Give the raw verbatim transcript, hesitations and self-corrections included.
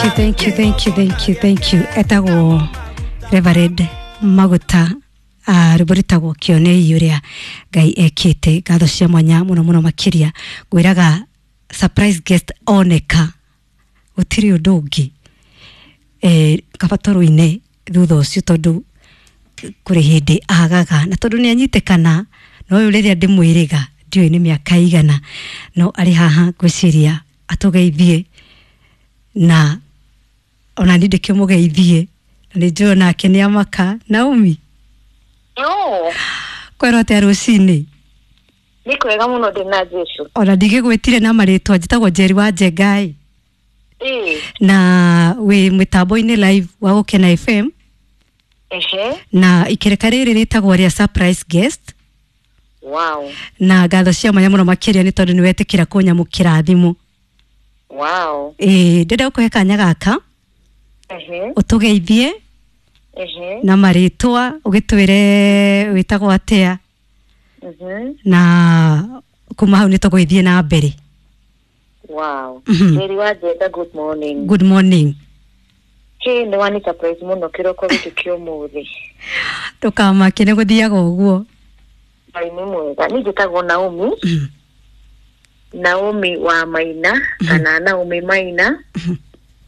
you, thank you, thank you, thank you, thank you. Etagwo Reverend Maguta, uh, rwĩmbo rwĩtagwo Kĩonei ũrĩa Ngai ekĩte. Ngatho cia mwanya mũno mũno makĩria. Ngwĩraga surprise guest oneka gũtirĩ ũndũ ũngĩ, eh, kaba tũrũine thutha ũcio, tondũ kũrĩ hĩndĩ agaga na tondũ nĩ anyitĩkana no ũyũ rĩrĩa ndĩmwĩrĩga ndiũĩ nĩ mĩaka igana, no arĩ haha ngwĩciria atũgeithie na ona niĩ ndĩkĩmũgeithie na nĩ njũĩ nake nĩ amaka. Naomi. No. Kwĩrwo atĩa rũcinĩ? Nĩ kwega mũno, ndĩ na Jesu. Ona ndigĩgwĩtire na marĩtwa, njĩtagwo Njeri wa Njengai. Ĩĩ. Na wĩ mĩtambo-inĩ live wa Gũkena F M. Ehe. Na ikereka rĩrĩ rĩtagwo rĩa surprise guest. Wow. Na ngatho cia mwanya mũno makĩria nĩ tondũ nĩ wetĩkĩra kũnyamũkĩra thimũ. Wow. Ĩĩ, ndĩrenda gũkũhe kanya gaka Ehe. ũtũgeithie Ehe. na marĩtwa, ũgĩtwĩre wĩtagwo atĩa, Mhm. na kuma hau nĩ tũgũgĩthiĩ na mbere. Wow. Mhm. Njeri wa Njenga, good morning. Good morning. Hĩ, nĩ wani surprise mũno kĩroko gĩkĩ kĩa ũmũthĩ. Ndũkamake, nĩ gũthiaga ũguo. Ngai nĩ mwega. Niĩ njĩtagwo Naomi. Mhm. Naomi wa Maina kana Naomi Maina.